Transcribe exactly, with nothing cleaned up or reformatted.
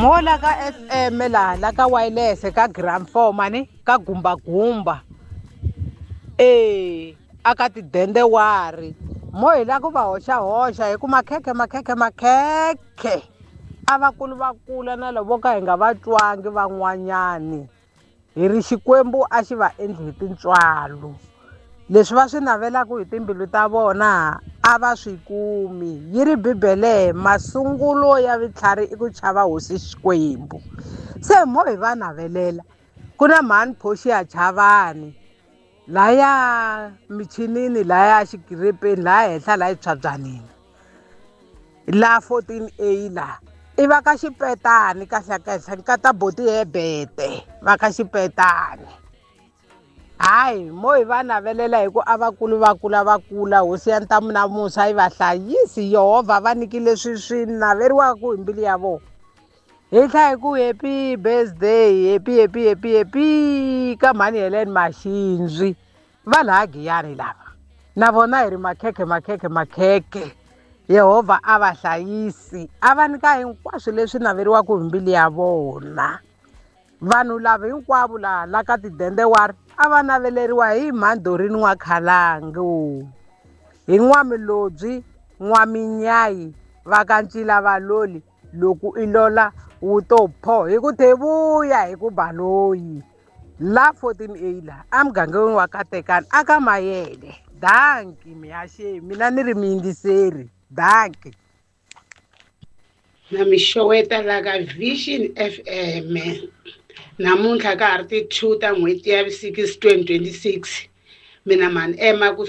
Mo la ka F M laha la ka wireless ka gram four mani ka gumbagumba e aka tidendewari mo hi la ku va hoxahoxa hi ku makhekhe makhekhe makhekhe a vakulu va kula na lavo ka hi nga va twangi van'wanyani hi ri Xikwembu a xi va endli hi tintswalo. Leswi va swi navelaka hi timbilu ta vona a va swi kumi. Yi ri Bibele, masungulo ya vutlhari i ku chava hosi Xikwembu. Se mo hi va navelela ku na mhani Portia Chavani laya michinini, laya xikirepeni, laya henhla, laya tshwabyanini, la fourteen A la i va ka xipetani. Kahle kahle, nkata boti Hebete va ka xipetani. Hayi, mo hi va navelela hi ku a vakulu va kula va kula, hosi ya ntamu na musa yi va hlayisi, Yehovha va nyiki leswi swi naveriwaka hi mbilu ya vona. Hi tlha hi ku happy birthday, happy, happy, happy, happy ka mhani Helen Maxinzwi va laha Giyani lava. Na vona hi ri makhekhe makhekhe makhekhe, Yehovha a va hlayisi, a va nyika hinkwaswo leswi naveriwaka hi mbilu ya vona. Vanhu lava hinkwavo laha la ka tidendewari a va naveleriwa hi mhandhorini N'wakhalangu, hi N'wamilobyi N'waminyayi va ka Ncila Valoli. Loko i lola wu to pho hi ku thevuya hi ku baloyi la fourteen A la emugangeni wa Katekani aka Mayele. Danki mihaxeni, mina ni ri muyingiseri. Danki. Na mi xeweta la ka Vision F M. Namuntlha ka ha ri ti-two ta n'hweti ya six twenty twenty-six. Mina mani ema ku